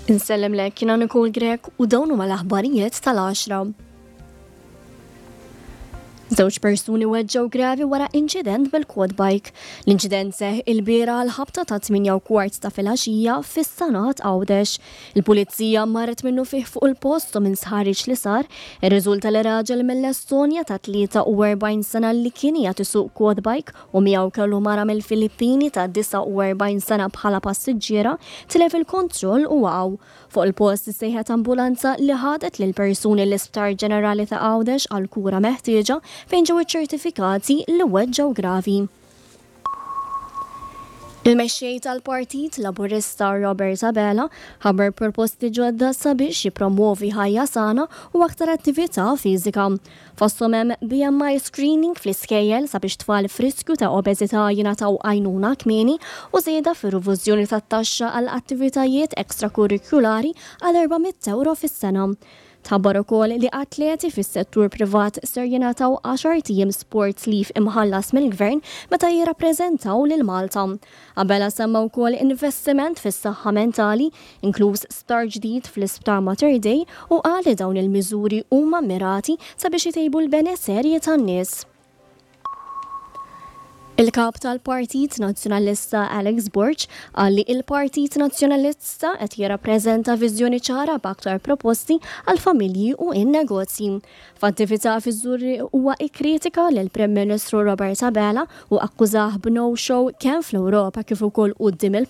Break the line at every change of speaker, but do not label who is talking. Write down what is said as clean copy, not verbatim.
Insellimlek, jiena Nicole Grech u dawn huma l-aħbarijiet tal-għaxra. Żewġ persuni weġġgħu gravi wara inċident bil-quad bike. L-inċident seħħ ilbieraħ għall-ħabta ta' 8:15 ta' filgħaxija fis-Sanat Għawdex. Il-Pulizija marret minnufih fuq il-post u minn sħarriġ li sar, irriżulta li raġel mill-Estonja ta' 43 sena li kien qiegħed isuq quad bike u miegħu kellu mara mill-Filippini ta' 49 sena bħala passiġġiera, tilef il-kontroll u waqgħu. Fuq il-post issejħet ambulanza li ħadet lill-persuni l-Isptar Ġenerali ta' Għawdex għall-kura meħtieġa fejn ġew iċċertifikati li weġġgħu gravi. Il-Mexxej tal-Partit Laburista Robert Abela ħabbar proposti ġodda sabiex jippromwovi ħajja sana u aktar attività fiżika. Fosthom hemm BMI screening fl-iskejjel sabiex tfal f'riskju ta' obeżità jingħataw għajnuna kmieni u żieda fir-rivużjoni tat-taxxa għal attivitajiet ekstrakurrikulari għal 400 ewro fis-sena. Tħabbar ukoll li atleti fis-settur privat ser jingħataw għaxart ijiem sports leave imħallas mill-Gvern meta jirrappreżentaw lil Malta. Abela semma wkoll investiment fis-saħħa mentali, inkluż sptar ġdid fl-Isptar Mater Dei u qal li dawn il-miżuri huma mmirati sabiex itejbu l-benesserji tan-nies. Il-Kap tal-Partit Nazzjonalista Alex Borg qal li il-Partit Nazzjonalista qed jirrappreżenta viżjoni ċara b'aktar proposti għall-familji u n-negozji. F'attività fiż-Żurrieq huwa ikkritika lill-Prim Ministru Robert Abela u akkużah b'no show kemm fl-Ewropa kif ukoll quddiem il.